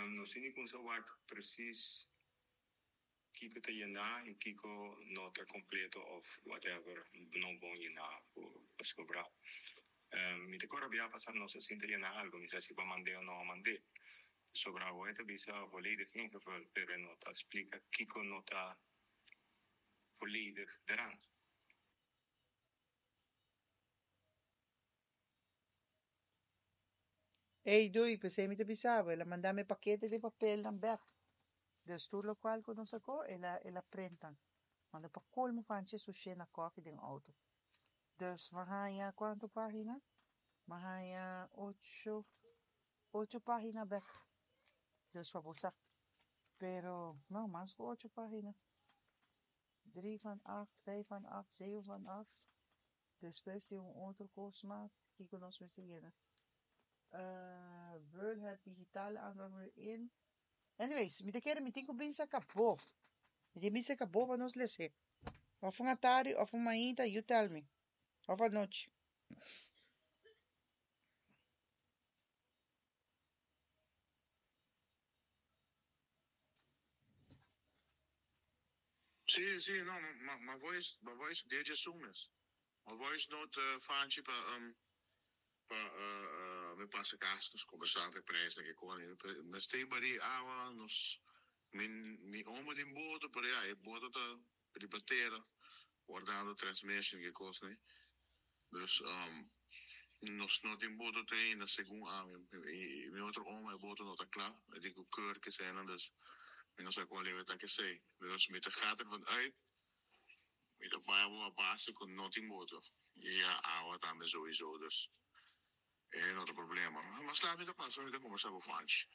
Nos tin di kumsa wak precies kiko ta yená i kiko no ta kompleto òf whatever no bon yená pasobra mi ta kòrda bia pasá nos a sinta yená algu mi sa si bo a mand'é o no a mand'é pasobra awor e ta bisa volledig ingevuld pero e no ta splika kiko no ta volledig deraan. Ey doei, p'esei mi ta bisa bo, el a manda mi e pakete di papelnan bek. Dus tur lokual ku nos a ko, el a el a print nan. Manda pa kolmo panchi e sushé na kòfi den outo. Dus m'a haña kuantu página? M'a haña ocho, ocho página bek. Dus pa bo sa. Pero, no, mas ku ocho página. Drie van acht, vijf van acht, zeven van acht. Despues tin un otro kos mas kiko nos mester yena. Vul het digitale aanvraagformulier in. Anyways, mi ta kere mi tin ku bin saka bo. Mi tin bin saka bo pa nos lese. Of un atardi of un mainta, you tell me. Of anochi. Sí, sí, no, ma, ma voice, ma voice deje esun mes. Ma voice note fanchi pa um pa mi pasa cas nos conversa pa e prijsnan ke con mester bari awa nos mi mi omo den boto pero ya e boto ta riba tera wardando transmission ke cosnan dus nos no tin boto te ainda segun ami y mi otro omo e boto no ta cla e tin cu keur keseinan dus mi no sa con leu e ta kesei dus mi ta gaat ervan uit Mi ta bai abo a base cu no tin boto y ya awa tambe sowiso dus e no ta problema. Mas laat mi ta pasa mi ta combersa cu Fanchi.